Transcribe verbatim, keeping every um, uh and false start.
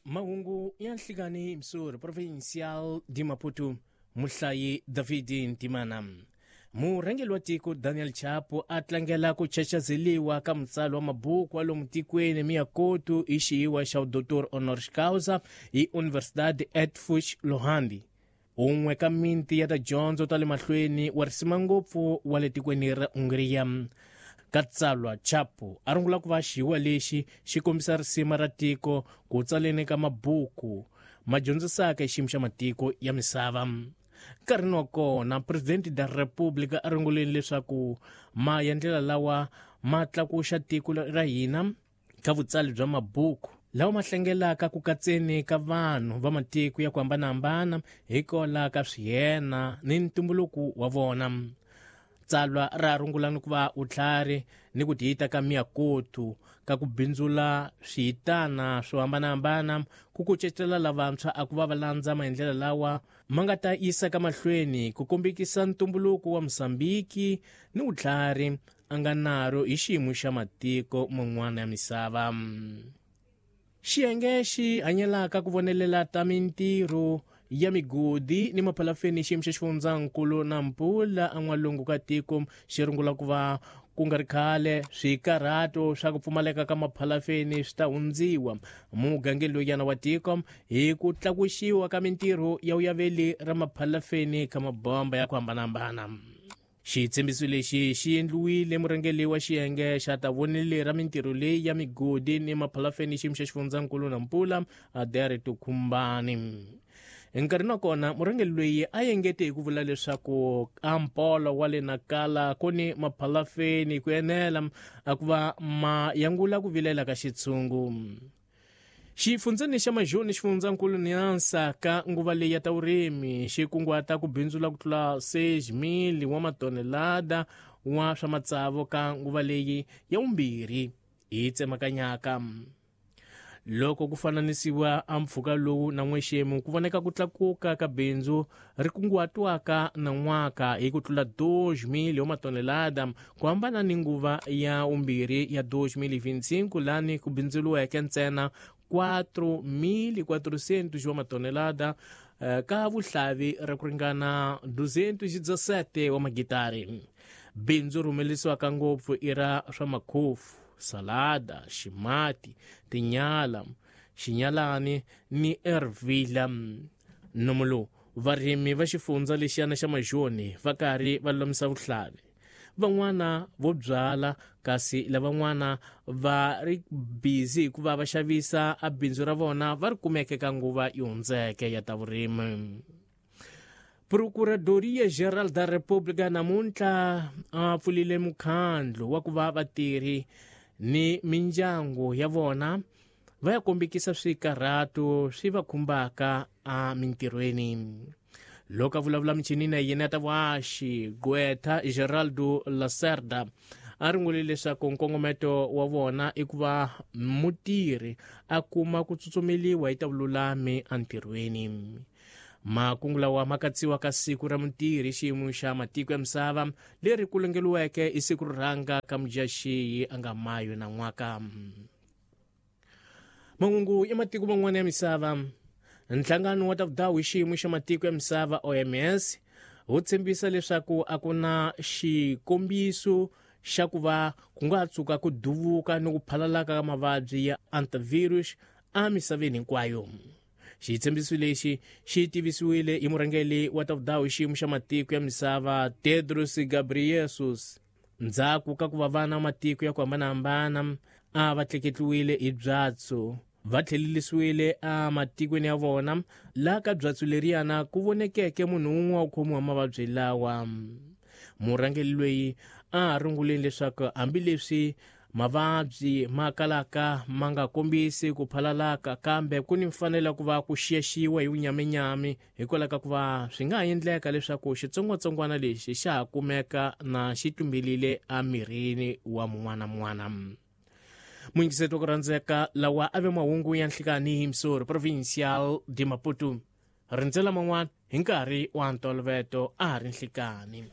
Mahungu ya nhlikani Msuri Provincial de Maputo, muhlayi David Ntimana. Murhangeri wa tiko Daniel Chapo a tlangela ku chachazeliwa ka mutsari wa mabuku wa lomu tikweni Miyakoto hi xiyiwa xa Doctor Honoris Causa hi Universidade Eötvös Loránd, un'we ka miti ya tidyondzo ta le mahlweni wa risima ngopfu wa le tikweni ra Hungria. Ka tsalwa Chapo a rungula ku va xiyiwa lexi xi kombisa risima ra tiko ku tsaleni ka mabuku ma dyondzisaka hi xiyimo xa matiko ya misava. Nkarhini wa kona Presidente da República a runguleni leswaku maendlela lawa ma tlakuxa tiko ra hina ka vutsali bya mabuku lawa ma hlengelaka ku katseni ka vanhu va matiko ya ku hambanahambana hikwalaho ka swiyena ni ntumbuluko wa vona. Tsalwa ra rungula ni ku va vutlhari ni ku tiyita ka Miyakoto ka ku bindzula swiyitana swo hambanahambana ku kucetela lavantshwa a ku va va landza maendlelo lawa ma nga ta yisa ka mahlweni ku kombekisa ntumbuluko wa Mozambiki ni vutlhari a nga naro hi xiyimo xa matiko man'wana ya misava. Xiyenge xi hanyelaka ku vonelela ta mintirho ya migodi ni maphalafeni xiyimo xa xifundzankulu na Nampula en'walungu ka tiko xi rungula ku va ku nga ri khale swikarhato swa ku pfumaleka ka maphalafeni swi ta hundziwa mugangeni lowuyana wa tiko hi ku tlakuxiwa ka mintirho ya vuyaveli ra maphalafeni ka mabomba ya ku hambanahambana. Xitshembiso lexi xi endliwile murhangeri wa xiyenge xa ta vonele ra mintirho leyi ya migodi ni maphalafeni xiyimo xa xifundzankulu Nampula Adere Tukhumbani. Nkarhini wa kona murhangeri loyi a engete hi ku vula leswaku ampolo wa le Nakala ku ni maphalafeni ku enela a ku va ma yangula ku vilela ka xitshungu. Xifundzeni xa Majoni xifundzankulu Niansa ka nguva leyi ya ta vurimi xi kunguhata ku bindzula ku tlula seis mil wa matonelada wa swa matsavu ka nguva leyi ya vumbirhi hi tsemakanyaka. Loko ku fananisiwa a mpfhuka lowu na n'wexemu ku voneka ku tlakuka ka bindzu ri kunguhatiwaka na n'waka hi ku tlula dois mil wa matonelada ku hambana ni nguva ya vumbirhi ya dois mil vinte e cinco lani ku bindzuriweke ntsena quatro mil quatrocentos wa matonelada ka vuhlavi ra ku ringana duzentos e dezessete wa magitari. Bindzu ri humelerisiwaka ngopfu i ra swa makhofu, salada, ximati, tinyala, xinyalani ni ervila. Nomu lowu varimi va xifundza lexiyana xa Majoni va karhi va lulamisa vuhlavi. Van'wana vo byala kasi lavan'wana va ri busy hikuva va xavisa a bindzu ra vona va ri kumeke ka nguva yi hundzeke ya ta vurimi. Procuradoria Geral da República namuntlha a pfulile mukhandlu wa ku va vatirhi ni mindyangu ya vona va ya kombekisa swikarhato swi va khumbaka emintirhweni. Loko a vulavula michini na yena ta vuhaxi gqwetha Geraldo Lacerda a rungule leswaku nkongometo wa vona i ku va mutirhi a kuma ku tsutsumeliwa hi ta vululami entirhweni. Makungu lawa ma katsiwa ka siku ra mutirhi xiyimo xa matiko ya misava leri ku longeliweke hi siku ro rhanga ka Mudyaxihi a nga mayo na n'waka. Mahungu ya matiko man'wana ya misava. Nhlangano wa ta vudawu hi xiyimo xa matiko ya misava O M S wu tshembisa leswaku a ku na xikombiso xa ku va ku nga tshuka ku duvuka ni ku phalalaka ka mavabyi ya antivirus emisaveni hinkwayo. Xitshembiso lexi xi tivisiwile hi murhangeri wa ta vudawu hi xiyimo xa matiko ya misava Tedros Ghebreyesus ndzhaku ka ku va vana matiko ya ku hambanahambana a va tleketliwile hi byatso va tlhelelisiwile ematikweni ya vona laha ka byatso leriyana ku vonekeke munhu wun'we wa ku khomiwa mavabyi lawa. Murhangeri loyi a runguleni leswaku hambileswi mavabyi ma kalaka ma nga kombisi ku phalalaka kambe ku ni mfanelo ku va ku xiyaxiwa hi vunyaminyami hikwalaho ka ku va swi nga ha endleka leswaku xitsongwatsongwana lexi xa ha kumeka na xi tumbelile emirini wa mun'wana mun'wana. Muyingiseti wa ku rhandzeka lawa a ve mahungu ya nhlikani hi Msuri Provincial de Maputo. Rindzela man'wana hi nkarhi wa ntolovelo a ha ri nhlikani.